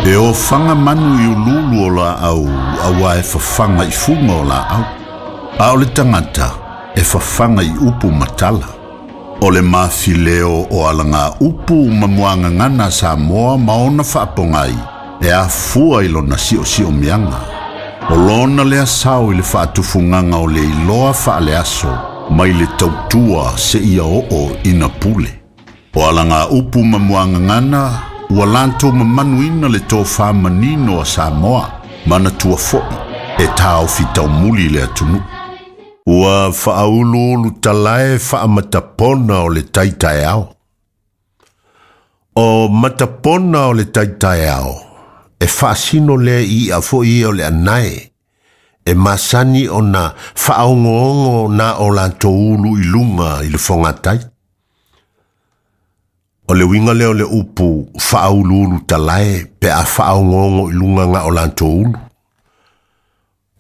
E ofaga manu i uluulu o laau auā e fafaga i fuga o laau. A o le tagata e fafaga i upu ma tala. O le mafileo o alagaupu ma muagagana a Samoa ma ona faapogai e afua i lona siosiomiaga. O lona lea sao i le faatufugaga o le iloa faaleaso mai le tautua seia oo ina pule. O alagaupu ma muagagana ua latou mamanuina le tofā manino a Samoa, manatua foi e taofi taumuli le atunuu. Ua faauluulu talae faamatapona o le tai taeao. O matapona o le tai taeao, e faasino lea i i'a foi ia o le anae, e masani ona faaogoogo na o latou ulu i luga i le fogatai. O le uiga lea o le upu faauluulu talae pe a faaogoogo i luga ga o latou ulu.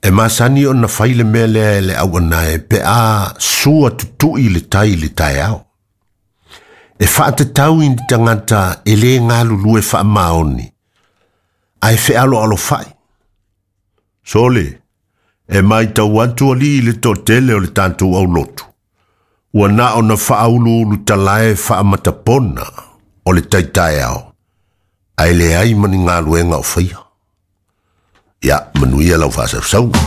E masani ona fai le mea lea e le auanae pe a sua tutui le tai i le taeao. E faatatau i ni tagata e lē galulue faamaoni, ae fealoalofai. Sole, e matau atu alii i le toatele o le tatou aulotu, ua na ona faauluulu talae faamatapona o le tai taeao, ae leai ma ni galuega o faia. Ia, manuia lau faasausauga.